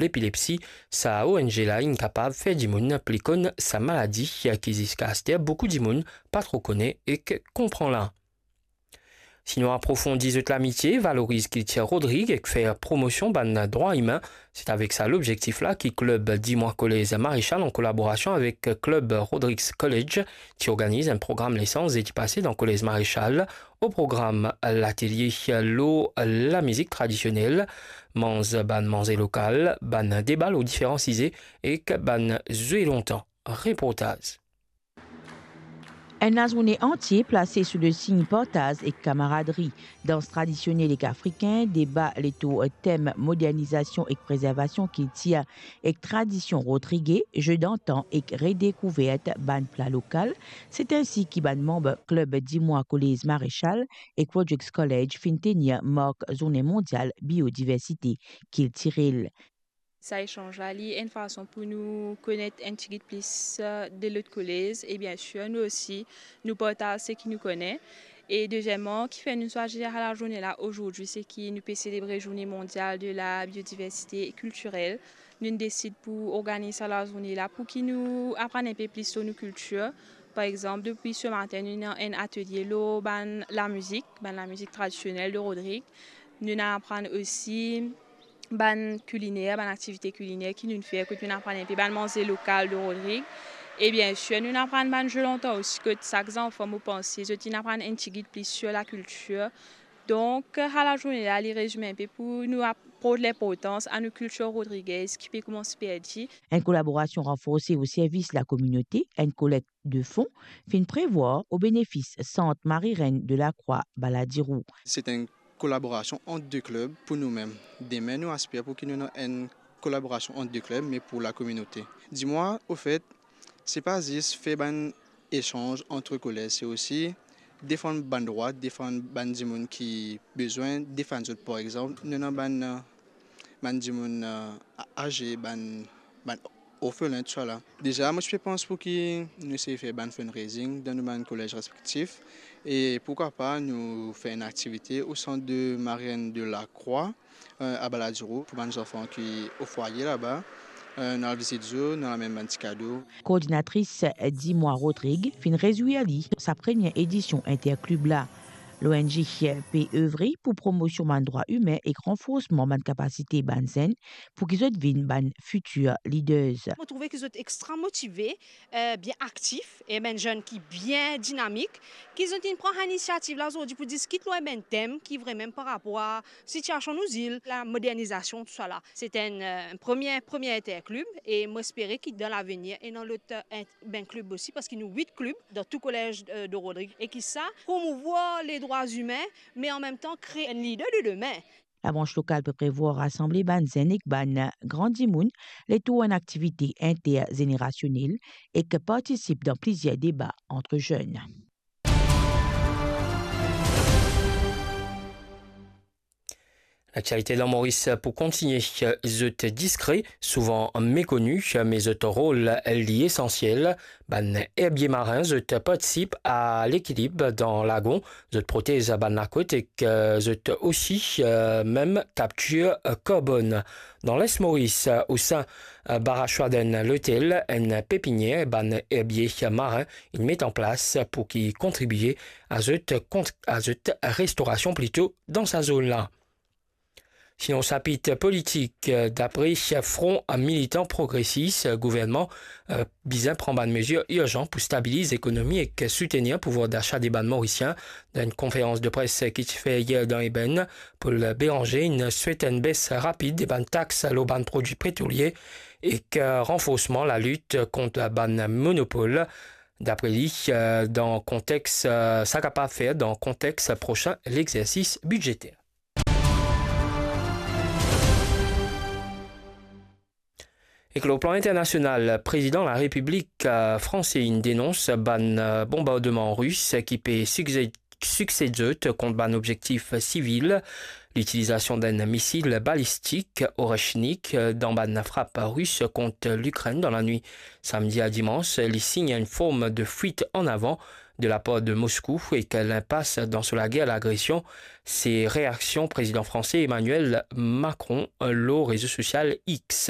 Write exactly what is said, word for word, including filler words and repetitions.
lepilepsi, sa O N G la inn kapav fer dimoun pli konn sa maladi ki ziska aster boukou dimoun pa tro kone ek konpran la. Si nou aprofondi zot lamitie, valoriz kiltir Rodrig ek fer promosion bann drwa imin, se avek sa lobzektif la ki klub Dimwa Kolez Marechal an kolaborasion avek klub Rodrigues College ti organiz enn program lesans zedi pase dan Kolez Marechal. O program, latelie lor lamizik tradisionel, manz bann manze lokal, bann deba lor diferan size ek bann zwe lontan. Reportaz. Enn lazourne antie plase sou le sign partaz ek kamaradri, dans tradisionel ek afrikin, deba letour tem modernizasion ek prezervasion kiltir ek tradision rodrige, ze dantan ek redekouvert bann pla lokal. Se ensi ki bann manb klub Dimwa Kolez Marechal ek Rodrigues College finn tenir mark Zourne Mondial Biodiversite Kiltirel. Sa esans la, li enn fason pou nou konet enn tigit plis, eh, de lot kolez, e bien sir, nou osi, nou partaz seki nou kone. E dezieman, kifer nou swazir sa lazourne la azordi, seki nou pe selebre Zourne Mondial de la Biodiversite Kiltirel. Nou'nn desid pou organiz sa lazourne la pou ki nou aprann enpe plis lor nou kiltir. Par exanp, depi se matin, nou ena enn atelie lor bann lamizik, bann lamizik tradisionel de Rodrig. Nou'nn aprann osi bann kiliner, bann aktivite kiliner ki nou'nn fer, kot nou'nn aprann enpe bann manze lokal de Rodrig. E bien sir, nou'nn aprann bann ze lontan osi, kot sak zanfan, mo panse, zot inn aprann enn tigit plis sir lakiltir. Donk, sa lazourne la, li rezime enpe pou nou ap-, port linportans a nou kiltir rodrigez ki pe koumans perdi. Enn kolaborasion ranforse o servis lakominote, enn kolekt de fon finn prevwar o benefis Sant Marie-Reine de la Croix Baladiro. Se enn kolaborasion ant de klub pou noumem. Demin, nou aspir pou ki nou ena enn kolaborasion ant de klub, me pou lakominote. Dimwa, ofet, se pa zis fer bann esans ant kolez, se osi defann bann drwa, defann bann dimoun ki bizin defann zot. Par exanp, nou ena bann, eh, bann dimoun, eh, a-, aze, bann, bann orfelin, tousala. Deza, mo ti pe pans pou ki nou esey fer bann fundraising dan nou bann kolez respektif, e pourkwa pa nou fer enn aktivite o Sant Marie-Reine de la Croix, eh, a Baladiro, pou bann zanfan ki o fwaye laba, eh, nou al vizit zot, nou al amenn bann ti kado. Koordinatris Dimwa Rodrig finn rezwir li sa premie edision interklub la. L'O N G pe evre pou promosion bann drwa imin ek ranforsman bann kapasite bann zenn pou ki zot vinn bann fitir leaders. Mo trouve ki zot extra motive, eh, bien aktif, e bann zenn ki bien dinamik, ki zot inn pran inisiativ la zordi pou diskit lor bann tem ki vremem par rapor a sitiasion nou zil, lamodernizasion, tousala. Se enn, eh, premie, premie interklub, e mo espere ki dan lavenir, ena lot, eh, bann klub osi, parski nou wit klub dan tou kolez, eh, de Rodrig, e ki sa promouvwar ledrwa imin, me anmemtan kre enn lider de demin. Labrans lokal pe prevwar rasanble bann zenn ek bann gran dimoun letour enn aktivite interzenerasionel ek partisip dan plizier deba ant zenn. Laktialite dan Moris pou kontinie, zot diskre, souvan mekoni, me zot rol li esansiel. Bann erbie marin, zot partisip a lekilib dan lagon, zot protez bann lakot ek, eh, zot osi, eh, mem kaptir, eh, karbonn. Dan Les Moris, eh, o sein, eh, Barra Schwaden L'Hôtel, enn pepinier bann erbie marin inn met an plas pou ki kontribie a zot kont-, a zot restorasion plito dan sa zone la. Sinon, sapit politik, dapre Front Militan Progresis, gouvernman, eh, bizin pran bann mezir irzan pou stabiliz ekonomi ek soutenir pouvwar dasa de bann Morisien. Dan enn konferans de pres ki ti fer yer dan Eben, Paul Bérenger inn swet enn bes rapid de bann tax lor bann prodwi petrolie ek, eh, ranforsman lalit kont bann monopol. Dapre li, eh, dan kontex, eh, sa kapav fer dan kontex prosin lexersis bidzeter. Ek lor plan internasional, Prezidan Larepiblik, eh, franse inn denons bann, eh, bonbardman ris ki pe sikse-, siksed zot kont bann objektif sivil. Litilizasion d'enn misil balistik Oreshnik, eh, dan bann frap ris kont Likrenn dan lanwit samdi a dimans, li sign enn form de fuit an avan de lapar de Moskou ek linpas dan so lager lagresion, se reaksion Prezidan franse Emmanuel Macron lor rezo sosial X.